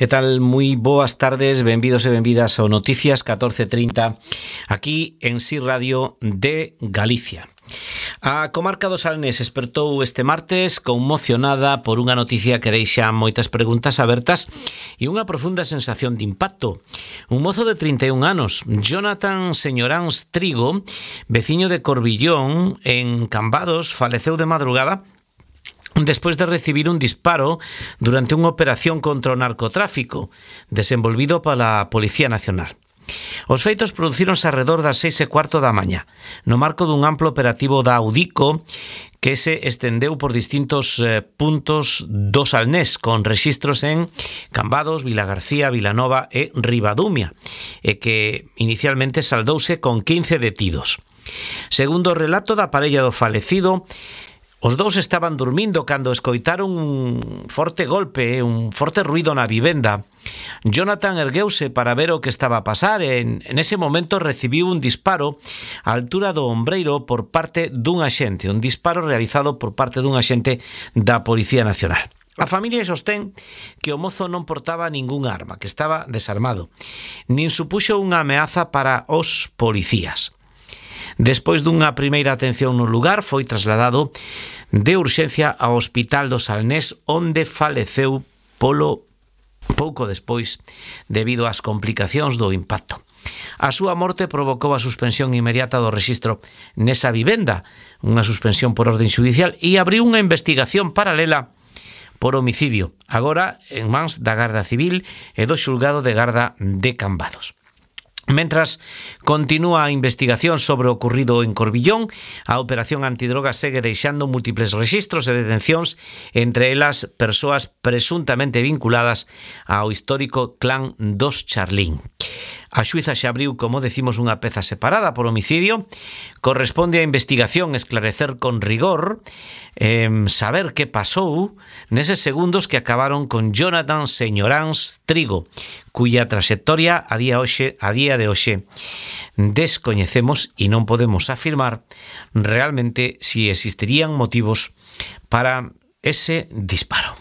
Que tal? Moi boas tardes, benvidos e benvidas ao Noticias 14:30 aquí en Si Radio de Galicia. A comarca do Salnés espertou este martes conmocionada por unha noticia que deixa moitas preguntas abertas e unha profunda sensación de impacto. Un mozo de 31 anos, Jonathan Señoráns Trigo, veciño de Corbillón, en Cambados, faleceu de madrugada despois de recibir un disparo durante unha operación contra o narcotráfico desenvolvido pola Policía Nacional. Os feitos producíronse arredor das 6:15 da mañá, no marco dun amplo operativo da Audico que se estendeu por distintos puntos do Salnés, con rexistros en Cambados, Vilagarcía, Vilanova e Ribadumia, e que inicialmente saldouse con 15 detidos. Segundo o relato da parella do falecido, os dous estaban dormindo cando escoitaron un forte golpe, un forte ruido na vivenda. Jonathan ergueuse para ver o que estaba a pasar e en ese momento recibiu un disparo á altura do ombreiro por parte dun axente, un disparo realizado por parte dun axente da Policía Nacional. A familia sostén que o mozo non portaba ningún arma, que estaba desarmado, nin supuxo unha ameaza para os policías. Despois dunha primeira atención no lugar, foi trasladado de urxencia ao Hospital do Salnés, onde faleceu pouco despois debido ás complicacións do impacto. A súa morte provocou a suspensión inmediata do rexistro nesa vivenda, unha suspensión por orden xudicial, e abriu unha investigación paralela por homicidio, agora en mans da Garda Civil e do Xulgado de Garda de Cambados. Mentras continúa a investigación sobre o ocorrido en Corbillón, a operación antidroga segue deixando múltiples rexistros e detencións, entre elas persoas presuntamente vinculadas ao histórico clan dos Charlín. A xuíza xa abriu, como decimos, unha peza separada por homicidio. Corresponde á investigación esclarecer con rigor, saber que pasou neses segundos que acabaron con Jonathan Señoráns Trigo, cuya trayectoria a día de hoxe descoñecemos e non podemos afirmar realmente si existirían motivos para ese disparo.